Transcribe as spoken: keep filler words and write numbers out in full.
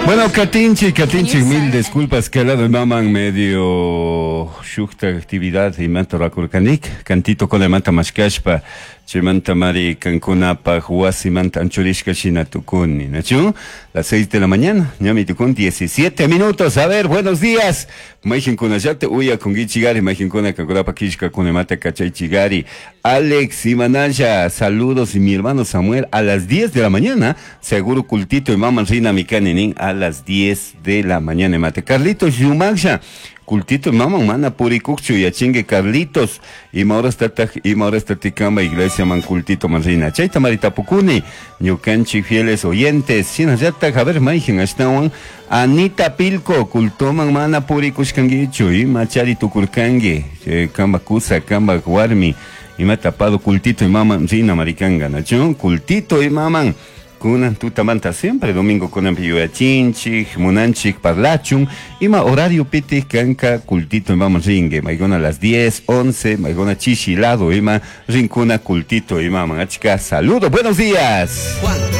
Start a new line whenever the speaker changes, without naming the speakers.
Bueno, katinchik, katinchik, mil disculpas que lado maman medio shukta actividad imanta rakurkanik, cantito con manta mashkashpa, chaymanta mari kankunapaj wasimanta anchurishka shina tukuni, ¿nachu? Las seis de la mañana, ñami tukun diecisiete minutos. A ver, buenos días. Mayqinkunallata uyakunkichigari, mayqinkuna kankunapaj killkakunamanta kachaychigari. Alex y Manaya, saludos y mi hermano Samuel a las diez de la mañana, seguro cultito y mamá rina mikaninin a las diez de la mañana. Mate Carlitos Yumaksha, cultito mama mana purikukchu yachingue Carlitos y maura stataj y maura statikamba iglesia man cultito manrina chayta maritapukuni ñukanchik fieles oyentes shinallataq a ver mayqin ashtawan Anita Pilco cultoman mana purikushkankichu ima chari tukurkanki eh, kamba kusa kamba warmi ima tapado cultito y mama rina marikanga nachu cultito y maman kunan tutamanta siempre domingo kunan yuyachinchik munanchik parlachun ima horario piti kanka cultito imaman ringue maykuna a las diez, once maykuna chishi lado ima rinkuna cultito imaman achka saludo buenos días.
Juan.